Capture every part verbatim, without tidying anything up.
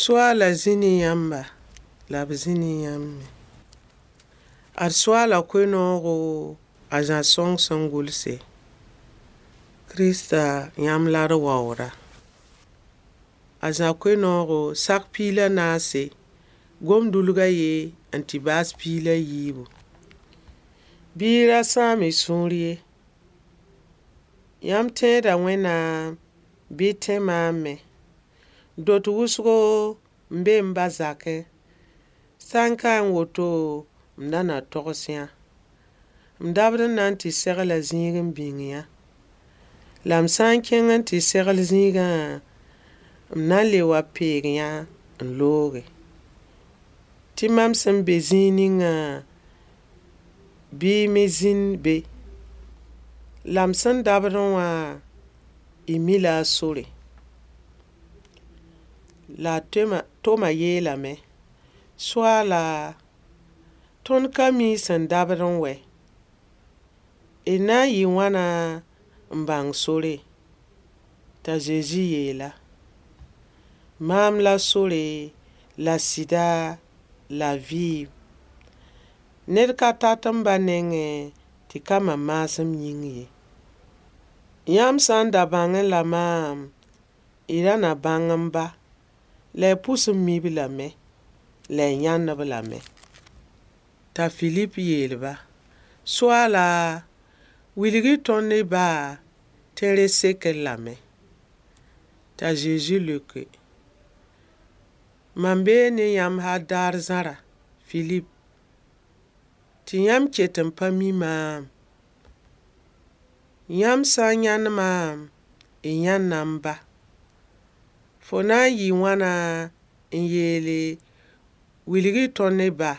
Soaala zĩ ne yãmba la b zĩ ne yãmb me. Ad Soaala koe-noogo a Zã sõng sẽn gʋlse. Kirista yãmb la d waooda. A Zã koe-noogo sak piig la naase, gom-dulg a ye n tɩ baas piig la yiibu. Bɩ y ra sãam y sũur ye. Yãmb tẽeda Wẽnnaam bɩ y tẽ maam me. Dot wʋsgo n be m ba zakẽ. Sã n kaẽ woto, m da na togs yã. M dabd n na n tɩ segla zĩig n bĩng yã. La m sã n kẽng n tɩ segl zĩigã, m na n le wa peeg yã n looge. Tɩ mam sẽn be zĩig ningã, bɩ y me zĩnd be. La m sẽn dabdẽ wã, y mi-la a sore. La a Toma yeelame: Soaala, tõnd ka mi y sẽn dabdẽ wɛ. D na n yɩ wãna n bãng sore? T'a Zezi yeel-a: Maam la sore, la sɩda, la vɩɩm. Ned ka tat m ba nengẽ tɩ ka mam maasem yĩng ye. Yãmb sã n da bãngẽ la maam, y ra na bãng m ba, la y pʋs n mi-b lame, la y yãnd-b lame. T'a Filip yeel-ba: Soaala, wilg-y tõnd y ba tɩ rẽ sek-d lame. T'a Zezi leoke: Mam bee ne yãmb hal daar zãra, Filip, tɩ yãmb ket n pa mi maam. Yãmb sã n yãnd maam, y yãnda m ba. Fo na n yɩ wãna n yeele wilg-y tõnd y ba?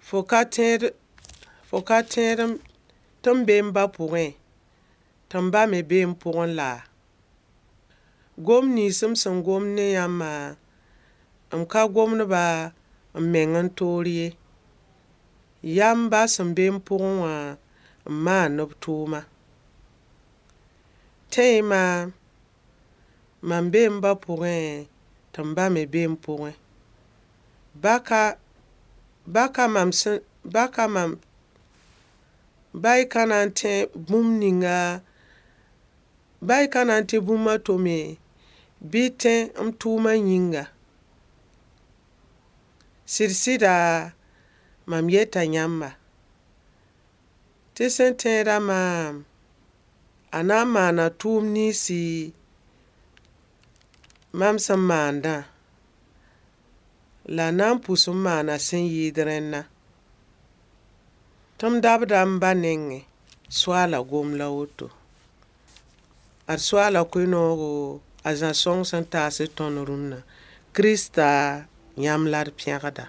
Fo ka tẽed fo ka tẽed tɩ m be m ba pʋgẽ, tɩ m ba me be m pʋgẽ laa? Gom nins m sẽn gomd ne yãmbã, m ka gomd-ba m meng n toor ye. Yaa m ba sẽn be m pʋgẽ wã n maand b tʋʋma. Tẽ-y maam, mam bee m ba pʋgẽ, tɩ m ba me be m pʋgẽ. Ba ka ba ka mam sẽn ba ka mam ba y ka na n tẽ bũmb ninga ba y ka na n tẽ bũmb a to me, bɩ y tẽ m tʋʋmã yĩnga. Sɩd-sɩda, mam yeta yãmba, tɩ sẽn tẽeda maam, a na n maana tʋʋm ninsi mam sẽn maandã, la a na n pʋs n maana sẽn yɩɩd rẽnna. Tɩ m dabda m ba nengẽ. Soaala gom la woto. Ad Soaala koe-noogo a Zã sõng sẽn taas tõnd rũnna. Kirista yãmb la d pẽgda.